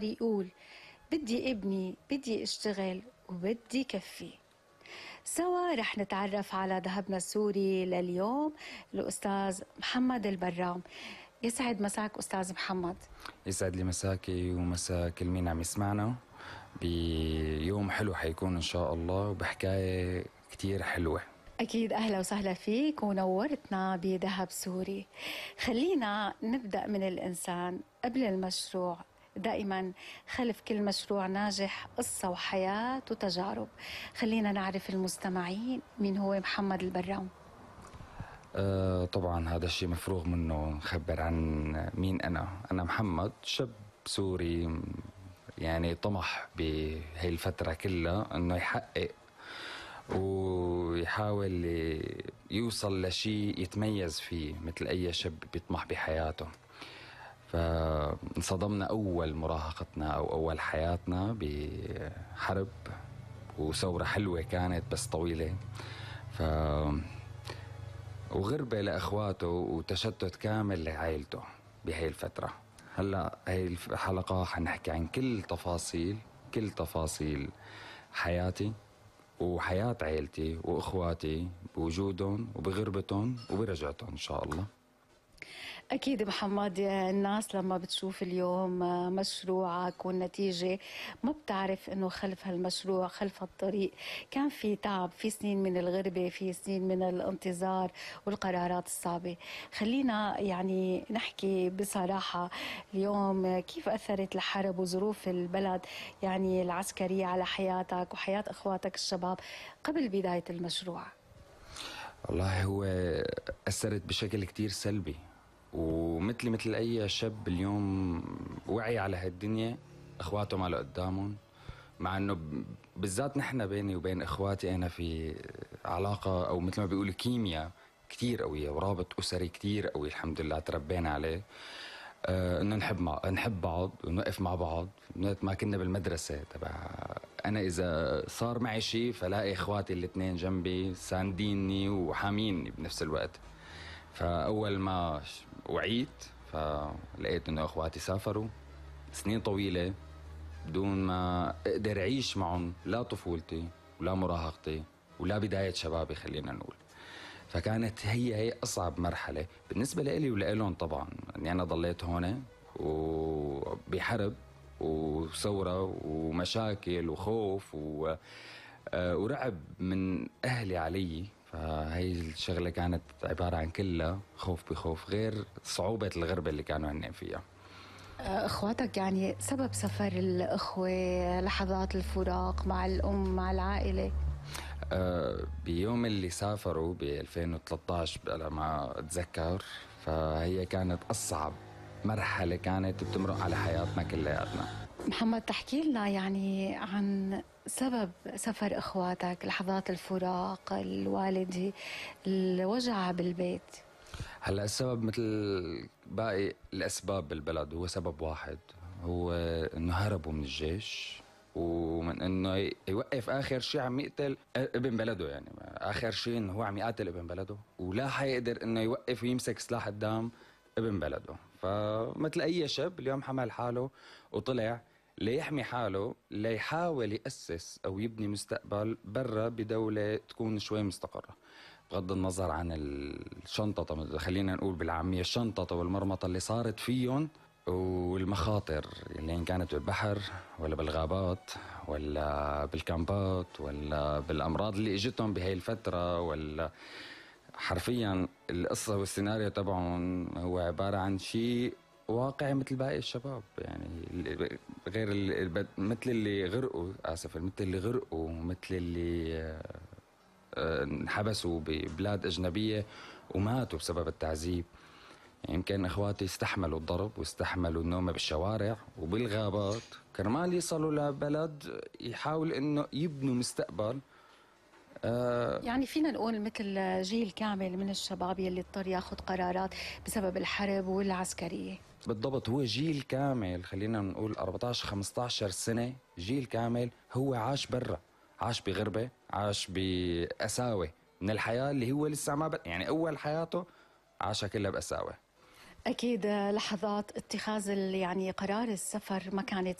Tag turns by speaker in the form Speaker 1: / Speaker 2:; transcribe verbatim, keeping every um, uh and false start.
Speaker 1: صار يقول بدي ابني، بدي اشتغل وبدي كفي. سوا رح نتعرف على ذهبنا السوري لليوم الأستاذ محمد البرام. يسعد مساك أستاذ محمد.
Speaker 2: يسعد لي مساكي ومساء كل مين عم يسمعنا بيوم حلو حيكون إن شاء الله وبحكاية كتير حلوة.
Speaker 1: أكيد، أهلا وسهلا فيك ونورتنا بذهب سوري. خلينا نبدأ من الإنسان قبل المشروع. دائما خلف كل مشروع ناجح قصة وحياة وتجارب. خلينا نعرف المستمعين مين هو محمد البرام.
Speaker 2: أه طبعا هذا الشيء مفروغ منه نخبر عن مين أنا. أنا محمد، شاب سوري يعني طمح بهي الفترة كلها أنه يحقق ويحاول يوصل لشيء يتميز فيه مثل أي شاب بيطمح بحياته. فانصدمنا أول مراهقتنا أو أول حياتنا بحرب وثورة حلوة كانت بس طويلة، ف وغربة لأخواته وتشتت كامل لعائلته بهي الفترة. هلأ هي الحلقة حنحكي عن كل تفاصيل كل تفاصيل حياتي وحياة عائلتي وإخواتي بوجودهم وبغربتهم وبرجعتهم إن شاء الله.
Speaker 1: أكيد محمد، الناس لما بتشوف اليوم مشروعك والنتيجة ما بتعرف أنه خلف هالمشروع، خلف هالطريق كان في تعب، في سنين من الغربة، في سنين من الانتظار والقرارات الصعبة. خلينا يعني نحكي بصراحة اليوم كيف أثرت الحرب وظروف البلد يعني العسكرية على حياتك وحياة أخواتك الشباب قبل بداية المشروع.
Speaker 2: والله هو أثرت بشكل كتير سلبي، ومثل مثل أي شاب اليوم وعي على هالدنيا أخواته ما له قدامهم، مع أنه بالذات نحن بيني وبين إخواتي أنا في علاقة أو مثل ما بيقولوا كيمياء كتير قوية ورابط أسري كتير قوي الحمد لله تربينا عليه. آه إنه نحب مع نحب بعض ونوقف مع بعض. ما كنا بالمدرسة تبع أنا إذا صار معي شيء فلاقي إخواتي الاثنين جنبي سانديني وحاميني بنفس الوقت. فأول ما وعيت فلقيت إنه إخواتي سافروا سنين طويلة بدون ما أقدر أعيش معهم لا طفولتي ولا مراهقتي ولا بداية شبابي خلينا نقول. فكانت هي هي أصعب مرحلة بالنسبة لي ولإلهم طبعا، يعني أنا ضليت هون وبحرب وثورة ومشاكل وخوف و... ورعب من أهلي علي. فهي الشغلة كانت عبارة عن كلها خوف بخوف، غير صعوبة الغربة اللي كانوا هن فيها.
Speaker 1: اخواتك يعني سبب سفر الاخوة، لحظات الفراق مع الام مع العائلة.
Speaker 2: أه بيوم اللي سافروا ب ألفين وثلاثة عشر على ما اتذكر، فهي كانت اصعب مرحلة كانت بتمرق على حياتنا كلياتنا.
Speaker 1: محمد، تحكي لنا يعني عن سبب سفر اخواتك، لحظات الفراق، الوالدة، الوجع بالبيت.
Speaker 2: هلا السبب مثل باقي الاسباب بالبلد هو سبب واحد، هو انه هربوا من الجيش ومن انه يوقف اخر شيء عم يقتل ابن بلده. يعني اخر شيء انه هو عم يقاتل ابن بلده ولا حيقدر انه يوقف ويمسك سلاح قدام ابن بلده. فمثل اي شاب اليوم حمل حاله وطلع ليحمي حاله، ليحاول يأسس او يبني مستقبل برا بدولة تكون شوي مستقرة، بغض النظر عن الشنطة خلينا نقول بالعامية الشنطة والمرمطة اللي صارت فيهم والمخاطر اللي إن كانت بالبحر ولا بالغابات ولا بالكامبات ولا بالأمراض اللي اجتهم بهاي الفترة. ولا حرفيا القصة والسيناريو تبعهم هو عبارة عن شيء واقعي مثل باقي الشباب. يعني غير اللي مثل اللي غرقوا آسف مثل اللي غرقوا مثل اللي انحبسوا ببلاد أجنبية وماتوا بسبب التعذيب. يعني يمكن إخواتي استحملوا الضرب واستحملوا النوم بالشوارع وبالغابات كرمال يصلوا لبلد يحاول إنه يبنوا مستقبل.
Speaker 1: آه يعني فينا نقول مثل جيل كامل من الشباب يلي اضطر ياخذ قرارات بسبب الحرب والعسكرية.
Speaker 2: بالضبط، هو جيل كامل خلينا نقول أربعة عشر خمسة عشر سنة، جيل كامل هو عاش برا، عاش بغربة، عاش بقساوة من الحياة اللي هو لسه ما ب... يعني أول حياته عاشها كلها بقساوة.
Speaker 1: أكيد لحظات اتخاذ يعني قرار السفر ما كانت